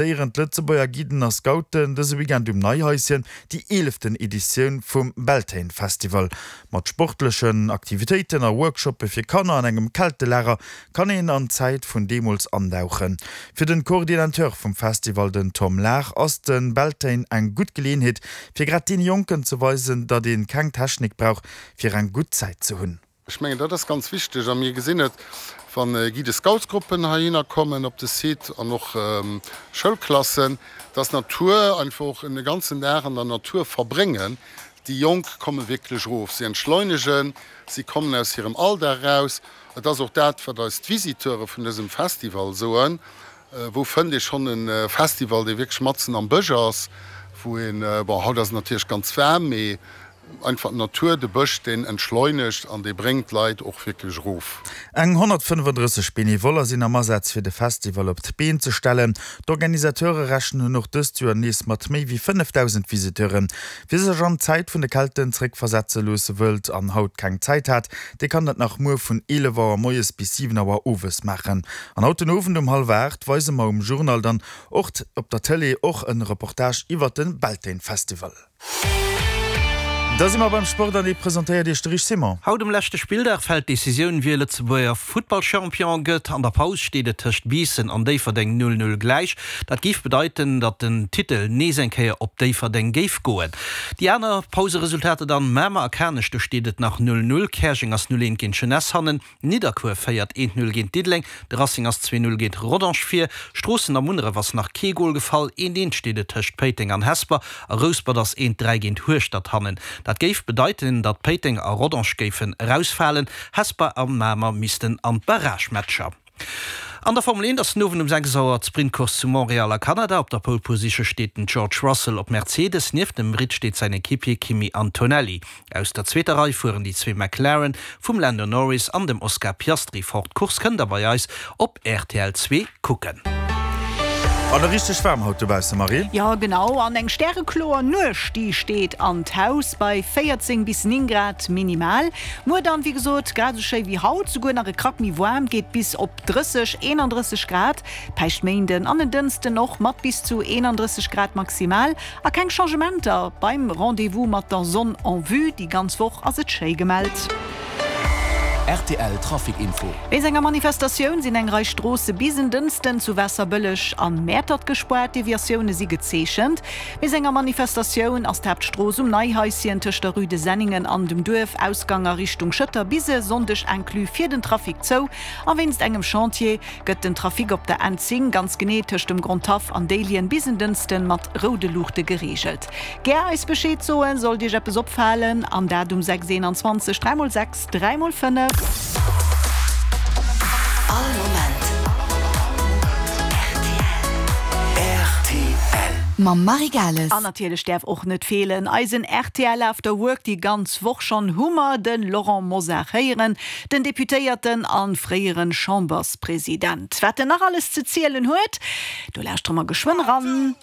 Organiséieren d'Lëtzebuerger Guiden a Scouten dëse Weekend um Neihaischen déi eeleften Editioun vum Beltane Festival. Mat sportlechen Aktivitéiten a Workshoppe fir Kanner an engem Keltelager kann een an d'Zäit vun deemools andauchen. Fir den Coordinateur vum Festival, den Tom Lahr, ass de Beltane eng gutt Geleeënheet fir grad deene Jonken ze weisen, datt ee keng Technik brauch fir eng gutt Zäit ze hunn. Ech mengen, dat ass ganz wichteg a mir gesinn et, wa Guide-Scoutsgruppen heihinner kommen op de Site an och Schoulklassen, dass d'Natur einfach och e ganzen Dag an der Natur verbréngen. Déi Jonk komme wierklech erof, si entschleunegen, si kommen aus hirem Alldag eraus. Et ass och dat, wat eis d'Visiteure vun dësem Festival soen, Wou fënnt ee schonn e Festival, dee wierklech matzen am Bësch ass, wou een, bon, haut ass et natierlech ganz waarm, mee einfach d'Natur, de Bësch, deen entschleunegt an dee bréngt d'Leit och wierklech erof. Eng 135 Benevoller sinn am Asaz fir de Festival op d'Been ze stellen. D'Organisateure rechnen och dëst Joer nees mat méi wéi 5.000 Visiteuren. Wie sech an d'Zäit vun de Kelten zeréckversetze loosse wëllt an haut keng Zäit hat, dee kann dat nach muer vun 11 Auer moies bis 7 Auer owes maachen. An haut den Owend um hallwer 8 weise mer um Journal dann och op der Tëlee och en Reportage iwwert den Beltane Festival. Da si mer beim Sport an dee presentéiert iech de Rich Simon. Haut um leschte Spilldag fält d'Decisioun, wie Lëtzebuerger Futtballchampion gëtt. An der Paus steet et tëscht Biissen an Déifferdeng 0, 0 gläich. Dat géif bedeiten, datt den Titel nees eng Kéier op Déifferdeng géif goen. Déi aner Pauseresultater dann, Mamer a Kanech, do steet et nach 0, 0, Käerjeng ass 0, 1 géint d'Jeunesse hannen, Nidderkuer féiert 1, 0 géint Diddeleng, de Racing ass 2, 0 géint Rodange vir, Stroossen a Munneref ass nach kee Gol gefall, 1, 1 steet et tëscht Péiteng an Hesper a Rouspert ass 1, 3 géint Hueschtert hannen. Dat géif bedeiten, datt Péiteng a Rodange géifen erausfalen, Hesper a Mamer missten an d'Barragematcher. An der Formel 1 ass den Owend um 6 Auer d'Sprintcourse zu Montréal a Kanada. Op der Pole Position steet den George Russell op Mercedes, nieft dem Britt steet säin Equipier Kimi Antonelli. Aus der zweeter Rei fueren déi zwee McLaren vum Lando Norris an dem Oscar Piastri fort. D'Course kënnt der bei eis op rtl 2 kucken. An e richteg waarm haut dobausse, Marie? Jo genau, an eng stärekloer Nuecht déi steet an d'Haus bei 14 bis 9 Grad minimal. Muer dann wéi gesot grad esou schéi wéi haut, souguer nach e Krack méi waarm, geet bis op 30, 31 Grad. Päischtméinden an en Dënsten och mat bis zu 31 Grad maximal. A keng Changementer beim Rendez-vous mat der Sonn en vue, déi ganz Woch ass et schéi gemellt. Rtl Trafic Info. Wéinst enger Manifestatioun sinn eng Rei Stroosse bis en Dënsten zu Waasserbëlleg an Mäertert gespaart. Deviatioune si gezeechent. Wéinst enger Manifestatioun ass d'Haaptstrooss um Neihaischen tëscht der Rue de Senningen an dem Duerf, Ausgang a Richtung Schëtter, bis e Sonndeg inclus fir den Trafic zou. A wéinst engem Chantier Gëtt den Trafic op der N10, ganz genee tëscht dem Grondhaff an Déiljen, bis en Dënsten mat roude Luuchte gereegelt? Gär eis Bescheed soen, sollt Iech eppes opfalen, an dat um 6 21 3 mol 6 3 mol 5. All Moment rtl. Mam Marie Gales. An natierlech däerf och net feelen eisen rtl After Work. Déi ganz Woch schonn hu mer de Laurent Mosar héieren. Den Deputéierten a fréiere Chamberspresident. Wat en nach alles ze zielen huet, do lauschtere mer geschwënn eran.